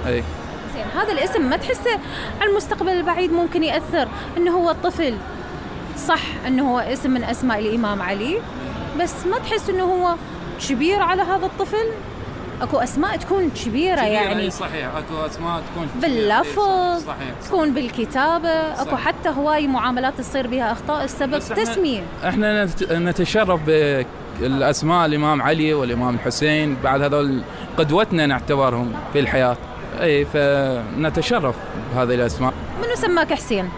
اي زين، هذا الاسم ما تحسه على المستقبل البعيد ممكن يأثر انه هو الطفل صح انه هو اسم من اسماء الامام علي، بس ما تحس انه هو كبير على هذا الطفل؟ اكو اسماء تكون كبيرة يعني صحيح، اكو اسماء تكون باللفظ، صحيح. تكون بالكتابة، اكو حتى هواي معاملات تصير بها اخطاء السبب تسمية. احنا نتشرف بالاسماء الامام علي والامام الحسين، بعد هذول قدوتنا نعتبرهم في الحياة، اي فنتشرف بهذه الاسماء. منو سماك حسين؟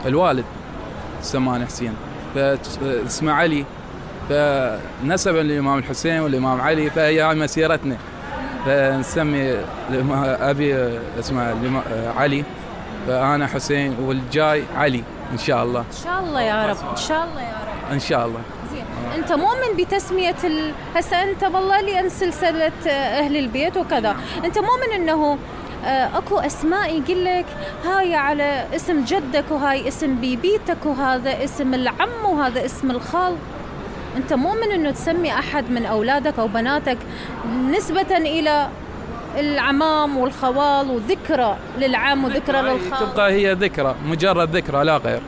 الوالد سماني حسين، فاسمه علي، فنسبا للإمام الحسين والإمام علي، فهي هاي مسيرتنا، فنسمي أبي اسمه علي، فأنا حسين والجاي علي إن شاء الله. إن شاء الله يا رب، إن شاء الله يا رب، إن شاء الله. زين، أنت مؤمن بتسمية هسه أنت والله لأن سلسلة أهل البيت وكذا، أنت مؤمن إنه اكو اسماء يقول لك هاي على اسم جدك وهاي اسم بيبيتك وهذا اسم العم وهذا اسم الخال؟ انت مؤمن انه تسمي احد من اولادك او بناتك نسبة الى العمام والخوال وذكرى للعم وذكرى للخال؟ تبقى هي ذكرى، مجرد ذكرى لا غير.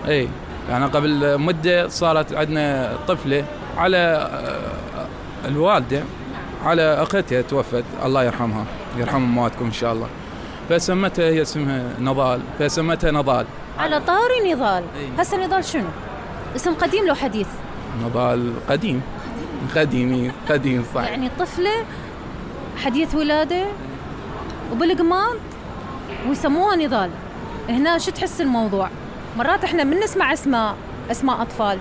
اي يعني قبل مدة صارت عندنا طفلة على الوالدة، على اختها توفت الله يرحمها، يرحم امواتكم ان شاء الله، فسمتها هي اسمها نضال، فسمتها نضال. على طاري نضال، هسه نضال شنو؟ اسم قديم لو حديث؟ نضال قديم، قديم صح. يعني طفلة حديث ولادة وبالقماط ويسموها نضال. هنا شو تحس الموضوع؟ مرات احنا من نسمع اسماء اطفال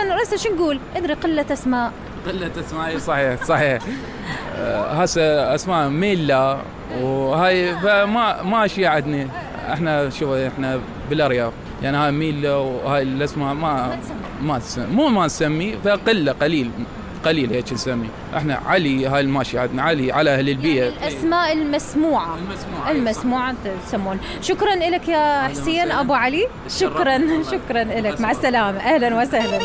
رأسا شو نقول؟ ادري قلة اسماء صحيح. هسه اسماء ميلا وهاي ما اشياء عندنا احنا، شوف احنا بالارياف يعني هاي ميلا وهاي الاسماء ما نسمي، فقله قليل هيك نسمي احنا. علي هاي الماشي عندنا، علي على اهل البيت، يعني الاسماء المسموعه تسمون. شكرا لك يا حسين ابو علي، شكرا لك، مع السلامه، اهلا وسهلا.